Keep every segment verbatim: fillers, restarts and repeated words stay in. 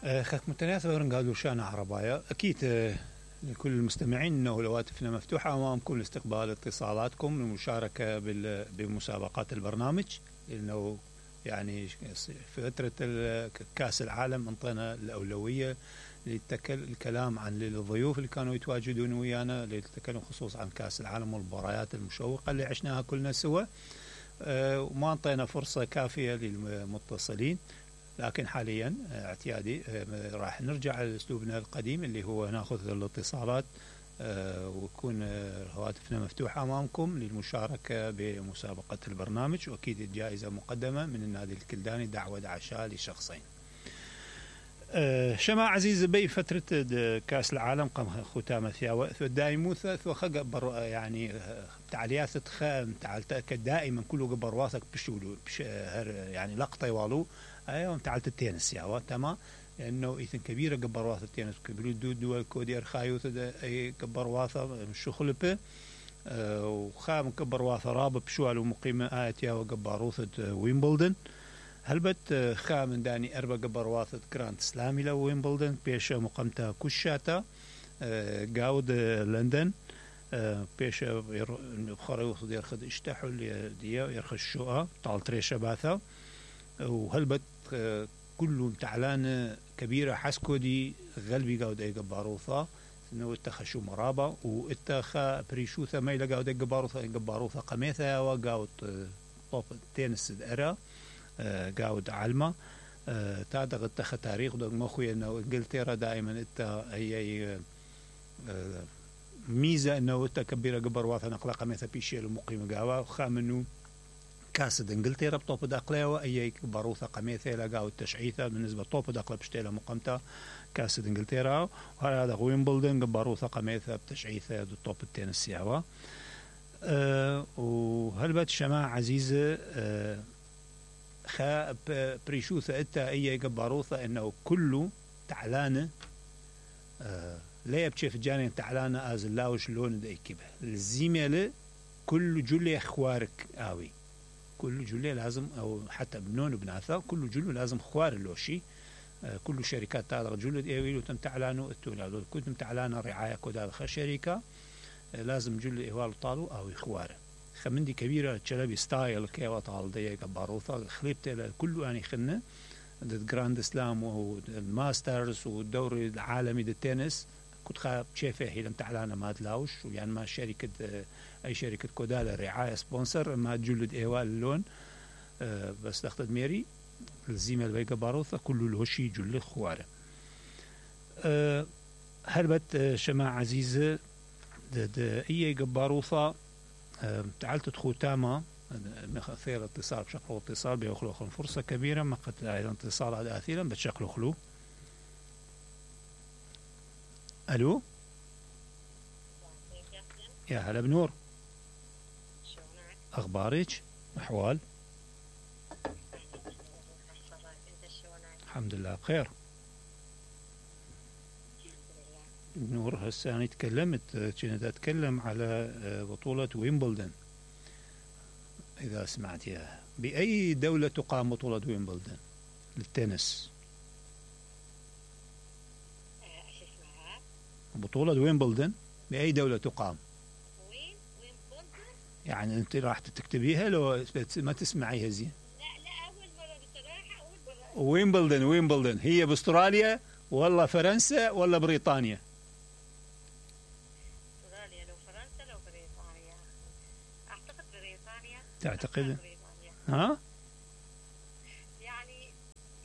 خاك متناسبة رنقالوا شانا عربايا أكيد. لكل المستمعين أنه الهواتفنا مفتوحة أمامكم لاستقبال اتصالاتكم للمشاركة بمسابقات البرنامج، لأنه يعني فترة كأس العالم انطينا الأولوية للكلام عن الضيوف اللي كانوا يتواجدون ويانا للتكلم خصوصا عن كأس العالم والمباريات المشوقة اللي عشناها كلنا سوا، وما انطينا فرصة كافية للمتصلين. لكن حاليا اعتيادي راح نرجع لأسلوبنا القديم اللي هو ناخذ الاتصالات ويكون هواتفنا مفتوحة أمامكم للمشاركة بمسابقة البرنامج، وأكيد الجائزة مقدمة من النادي الكلداني دعوة دعشاء لشخصين. شما عزيز بي فترة كأس العالم قام ختامة ثياوة دائموثة وخقبر يعني تعليات تخام تعال دائما كله قبر واثق بشولو بش يعني لقطة والو ايوه تعالت التنس يا تمام، لانه ايثن كبيره قبر واثق التنس كبيرو دول دول كودير خايوث اي قبر واثق مش خلبه أه وخام قبر واثق رابط بشوال ومقيمه ايت يا وقبروث ويمبلدن هلبت خام داني اربع قبر واثق كرانت سلامي لو ويمبلدن بيش مقامتها كشاتا أه قاود لندن أه بيش بخاريوث يرخد اشتحل ديا يرخد الشقه طال تريشه باثا وهلبت كله تعلان كبيرة حسكو دي غلبي قاود اي قباروثا انه اتخشوا مرابا واتخا بريشوثا ما يلا قاود اي قباروثا اي قباروثا قميثا وقاود طوب تينس ارا قاود علمة تادغ اتخا تاريخ دو مخوي انه انجلترا دائما اتا هي ميزة انه اتا كبيرة قباروثا نقلا قميثا بيشيل ومقيم قاوا وخامنو كاسد انجلترا بطوب داقليوة اي باروثة قميثة لقاو التشعيثة بالنسبة لطوب داقلة بشتيلة مقامتة كاسد انجلترا، وهذا ويمبلدن باروثة قميثة بتشعيثة دو طوب التنس سياوة. أه وهلبت شماعة عزيزة أه خا بريشوثة اتا اي باروثة انه كله تعلانة أه لا يبشف جاني تعلانة از اللاوش لون دا ايكيبه الزيميلة كل جولي اخوارك اوي كل جلة لازم أو حتى بنون وبناثا كل جلة لازم خوار اللوشي آه كل شركات تاع جلة إيويلو تم تعلانو التولادو كنتم تعلانو رعاية كودا خ شركة آه لازم جلة إيوالو طالو أو خوار خمندي كبيرة تشلبي ستايل كيوا طال دي كباروثا خليبت كله يعني خنة ضد جراند سلام والماسترز والدوري العالمي للتنس كنت خاب شايفه هي لم تعلانة ما تلاوش يعني ما شركة آه أي شركة كودالا رعاية سبونسر ما تجلد إيوال اللون أه بس تاخد ميري الزيمة البيقى باروثة كله الهشي جلد خوارة. أه هربت أه شماعة عزيزة إيه قباروثة أه تعالت تدخو تاما خير اتصال بشكل اتصال بيخلو خلو فرصة كبيرة ما قد أيضا اتصال هذا أثيرا بتشكله خلو. ألو يا هلا بنور، أخبارك؟ أحوال؟ الحمد لله بخير. نور هسه أنا تكلمت كنت أتكلم على بطولة ويمبلدن إذا سمعت إياها. بأي دولة تقام بطولة ويمبلدن للتنس؟ بطولة ويمبلدن بأي دولة تقام؟ يعني انت راح تكتبيها لو ما تسمعيها زين؟ لا لا اول مره بصراحه اول مره. ويمبلدن ويمبلدن هي باستراليا ولا فرنسا ولا بريطانيا؟ استراليا لو فرنسا لو بريطانيا اعتقد بريطانيا. تعتقد؟ بريطانيا. ها؟ يعني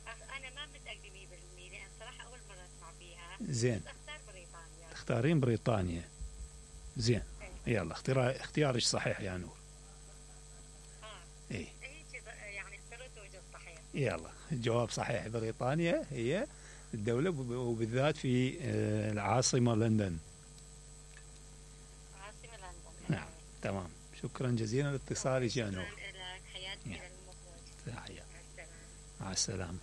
انا ما متاكده مية بالمية لان صراحه اول مره اسمع فيها. زين. اختار بريطانيا. تختارين بريطانيا. زين. يلا اختيار اختيارك صحيح يا نور. اه ايه يعني اخترت وجه صحيح. يلا الجواب صحيح، بريطانيا هي الدولة وبالذات في العاصمة لندن. عاصمة لندن. نعم تمام، شكرا جزيلا لاتصالك يا نور. شكرا لك، حياتي للمخرج. تحية. مع السلامة.